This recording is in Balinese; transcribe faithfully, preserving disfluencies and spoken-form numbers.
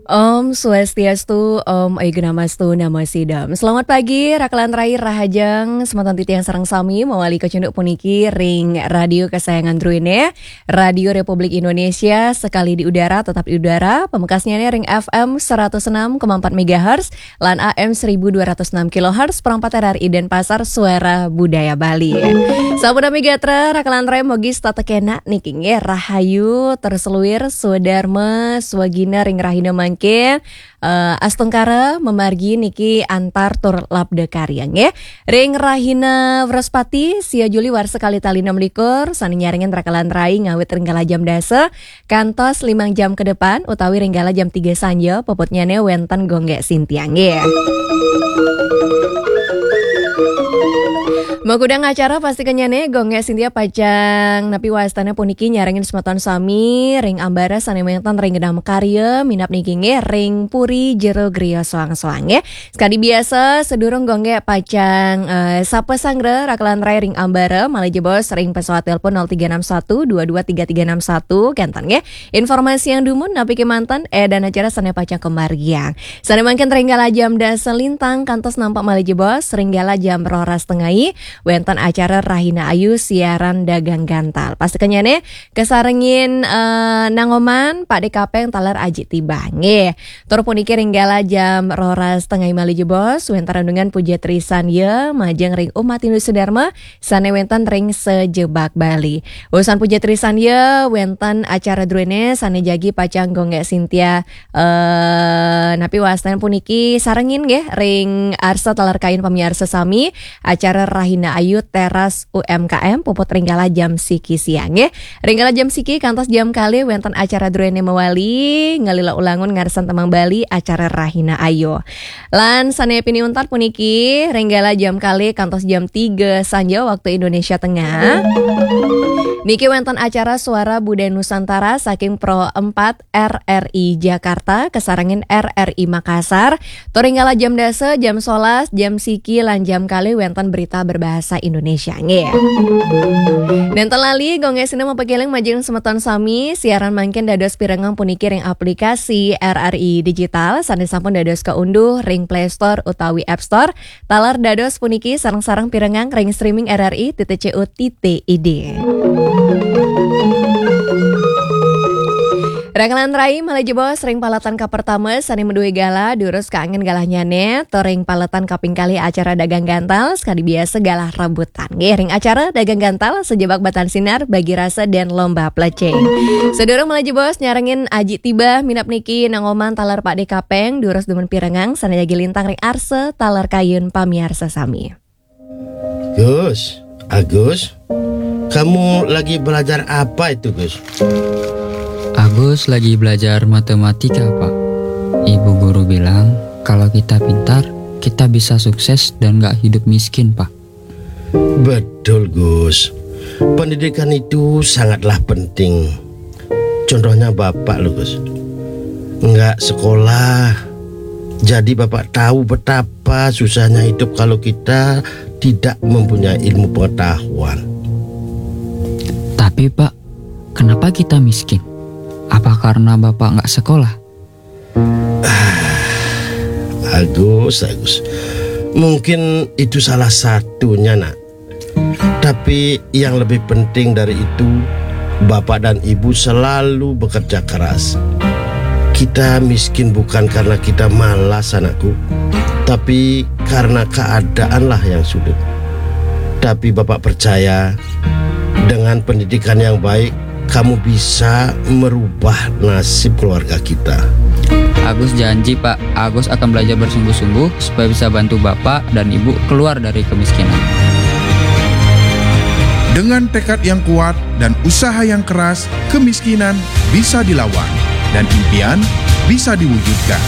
Om Swastiastu, Om Aigna Mastu Namo Sidam. Selamat pagi, Rakalan Rai Rahajeng, semeton titiang sareng sami mawali kacunduk puniki ring radio kesayangan druene, Radio Republik Indonesia, sekali di udara, tetap di udara, pamekasnyane ring F M seratus enam koma empat megahertz, lan A M seribu dua ratus enam kilohertz, perangkat R R I Denpasar, Suara Budaya Bali. Sampun nami gatra, Rakalan Rai, mogi setata kenak niki nggih, rahayu, terseluir, swadarma, swagina ring rahina mangke, eh, astungkara, mamargi niki antar tur labda karya nggih. Ring rahina Wrespati, sia Juli warsa kalih tali enam likur, sane nyarengin Rakalan Rai ngawit ring kala jam dasa, kantos limang jam ke depan, utawi ring kala jam tiga sanja, puputnyane wenten Gonggek Sintia nggih. Makudang acara pastikannyane, Gonggek Sintia pacang napi wastane puniki nyarengin semeton sami ring ambara sane wenten ring gedang makarya, minab niki nggih ring puri jero griya soang-soang nggih. Sekadi biasa, sedurung Gonggek pacang, eh, sapa sanggra Rakalan Rai ring ambara, malih jebos ring pesawat telepon nol tiga enam satu dua dua tiga tiga enam satu, kenten nggih. Informasi yang dumun napi kemanten, eh, dan acara sane pacang kamargiang. Sane mangkin ring kala jam dasa lintang kantos nampak malih jebos, ring kala jam roras tengai, wenten acara Rahina Ayu siaran dagang gantal. Pastikannyane kasarengin, eh, nangoman Pak De Kapeng taler Aji Tiba nggih. Tur puniki ring kala jam roras tengai malih jebos, wenten renungan Puja Trisan ya, majeng ring umat Hindu Sudarma, sane wenten ring sajebag Bali. Usan Puja Trisan ya, wenten acara druene sane jagi pacang Gonggek Sintia, eh, napi wastane puniki sarengin nggih ring arsa taler kayun pamiarsa sami, acara Rahina Ayu Teras U M K M puput ring kala jam siki siang nggih. Ring kala jam siki kantos jam kalih wenten acara druene mawali, ngalila ulangun ngarsan tembang Bali acara Rahina Ayu. Lan sane pini untat puniki, ring kala jam kalih kantos jam tiga sanja waktu Indonesia Tengah. Niki wenten acara Suara Budaya Nusantara saking Pro empat R R I Jakarta, kasarengin R R I Makassar. Tur ring kala jam dasa, jam solas, jam siki, lan jam kalih wenten berita berbahasa Indonesia nggih. Nenten lali, Gonggek Sintia mapakeling majeng semeton sami, siaran mangkin dados pirengang puniki ring aplikasi R R I Digital, sane sampun dados kaunduh ring Play Store utawi App Store. Taler dados puniki sareng-sareng pirengang ring streaming R R I titik C O titik I D. Rakalan Rai malih jebos ring paletan kapertama sane madue galah, durus kaanggén galahnyane, tur ring paletan kaping kalih acara dagang gantal, sakadi biasa galah rebutan. Nggih, ring acara dagang gantal, sajebag batan sinar, bagi rasa dan lomba plecing. Sadurung malih jebos nyarengin Aji Tiba, minab niki nangoman taler Pak De Kapeng, durus dumun pirengang, sane jagi lintang ring arsa, taler kayun pamiarsa sami. Gus, Agus, kamu lagi belajar apa itu, Gus? Agus lagi belajar matematika, Pak. Ibu guru bilang, kalau kita pintar, kita bisa sukses dan nggak hidup miskin, Pak. Betul, Gus. Pendidikan itu sangatlah penting. Contohnya Bapak, loh, Gus. Nggak sekolah. Jadi Bapak tahu betapa susahnya hidup kalau kita tidak mempunyai ilmu pengetahuan. Tapi, Pak, kenapa kita miskin? Apa karena Bapak nggak sekolah? Agus, Agus. Mungkin itu salah satunya, Nak. Tapi yang lebih penting dari itu, Bapak dan Ibu selalu bekerja keras. Kita miskin bukan karena kita malas, anakku, tapi karena keadaanlah yang sulit. Tapi Bapak percaya, dengan pendidikan yang baik, kamu bisa merubah nasib keluarga kita. Agus janji, Pak. Agus akan belajar bersungguh-sungguh supaya bisa bantu Bapak dan Ibu keluar dari kemiskinan. Dengan tekad yang kuat dan usaha yang keras, kemiskinan bisa dilawan dan impian bisa diwujudkan.